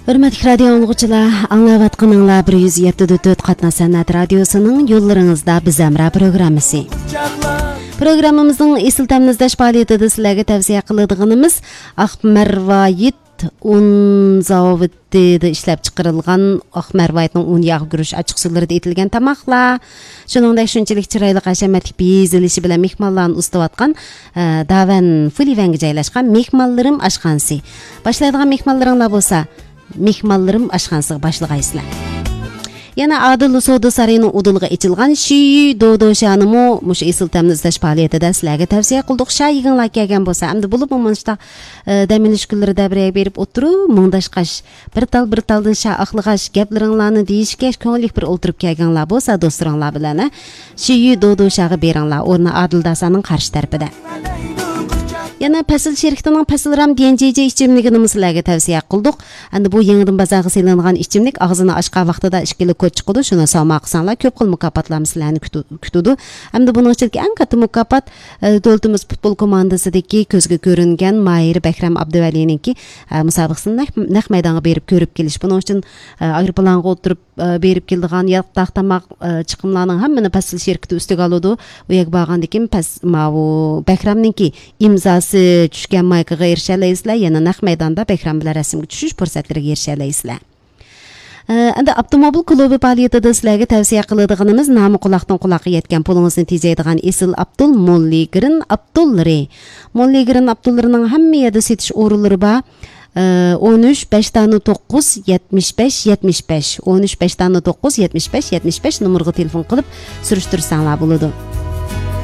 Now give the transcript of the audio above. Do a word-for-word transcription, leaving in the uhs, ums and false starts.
ھۆرمەتلىك رادىيو ئاڭلىغۇچىلار، ئاڭلاۋاتقىنىڭلار بىر يۈز يەتتە نۇقتا تۆت قاتناش سەنئەت رادىيوسىنىڭ يوللىرىڭىزدا بىز ھەمراھ پروگراممىسى. پروگراممىمىزنىڭ ئېسىل تەمنى ئىزدەش پائالىيىتىدە سىلەرگە تەۋسىيە قىلىدىغىنىمىز ئاق مەرۋايىت ئۇن زاۋۇتىدا ئىشلەپ چىقىرىلغان ئاق مەرۋايىتنىڭ ئۇن ياغ گۈرۈچ ئاچچىق سۇلىرىدا ئېتىلگەن تاماقلار. شۇنىڭدەك شۇنچىلىك چىرايلىق ھەشەمەتلىك بېزىلىشى بىلەن مېھمانلارنى ئۇزىتىۋاتقان، ئە، داۋەن فۇلىۋەنگە جايلاشقان مېھمانلىرىم ئاشخانىسى. باشلايدىغان مېھمانلىرىڭلار بولسا، مېھمانلىرىم ئاشخانىسىغا باشلىغايسىلەر. يەنە ئادىل سودا سارىيىنىڭ ئۇدۇلىغا ئېچىلغان شىيۈ دودوشانىمۇ مۇشۇ ئېسىل تەمنى ئىزدەش پائالىيىتىدە سىلەرگە تەۋسىيە قىلدۇق. شا يېگىڭلار كەلگەن بولسا، ئەمدى بولۇپمۇ مۇنۇشتا، ئە، دەم ئېلىش كۈنلىرىدە بىر يەرگە بېرىپ ئولتۇرۇپ، مۇڭداشقاچ، بىر تال بىر تالدىن شا ئاقلىغاچ، گەپلىرىڭلارنى دېيىشكەچ، كۆڭۈللۈك بىر ئولتۇرۇپ كەلگەنلار بولسا، دوستلىرىڭلار بىلەن، ئە، شىيۈ دودوشاغا بېرىڭلار، ئورنى ئادىل داسانىڭ قارشى تەرىپىدە. يەنە پەسىل شىركىتىنىڭ پەسىل رام ديەنجىجى ئىچىملىكىنىمۇ سىلەرگە تەۋسىيە قىلدۇق. ئەمدى بۇ يېڭىدىن بازارغا سېلىنغان ئىچىملىك ئاغزىنى ئاچقان ۋاقتىدا ئىككى لىكۇر چىقىدۇ، شۇنى ساۋما قىلساڭلار كۆپ خىل مۇكاپاتلارمۇ سىلەرنى كۈتۈ-، كۈتىدۇ. ئەمدى بۇنىڭ ئىچىدىكى ئەڭ كاتتا مۇكاپات، ئە، دۆلىتىمىز پۇتبول كوماندىسىدىكى كۆزگە كۆرۈنگەن ماھىر بەكرەم ئابدۇۋەلىنىڭكى، ئە، مۇسابىقىسىنى نەق، نەق مەيدانغا بېرىپ كۆرۈپ كېلىش. بۇنىڭ ئۈچۈن، ئە، ئايروپىلانغا ئولتۇرۇپ، ئە، بېرىپ كېلىدىغان ياتاق تاماق، ئە، چىقىملارنىڭ ھەممىنى پەسىل شىركىتى ئۈستىگە ئالىدۇ. ئۇ يەرگە بارغاندىن كېيىن پەس-، ماۋۇ بەكرەمنىڭكى ئىمزاسى چۈشكەن مايكىغا ئېرىشەلەيسىلەر، يەنە نەق مەيداندا بەكرەم بىلەن رەسىمگە چۈشۈش پۇرسەتلىرىگە ئېرىشەلەيسىلەر. ئە، ئەمدى ئاپتوموبىل كۇلۇبى پائالىيىتىدە سىلەرگە تەۋسىيە قىلىدىغىنىمىز نامى قۇلاقتىن قۇلاققا يەتكەن، پۇلىڭىزنى تېجەيدىغان ئېسىل ئابدۇل موللىگرىن ئابدۇللىرى. موللىگرىن ئابدۇللىرىنىڭ ھەممە يەردە سېتىش ئورۇنلىرى بار. ئە، ئون ئۈچ، بەش دانە توققۇز، يەتمىش بەش، يەتمىش بەش، ئون ئۈچ، بەش دانە توققۇز، يەتمىش بەش، يەتمىش بەش نومۇرغا تېلېفون قىلىپ سۈرۈشتۈرسەڭلار بولىدۇ.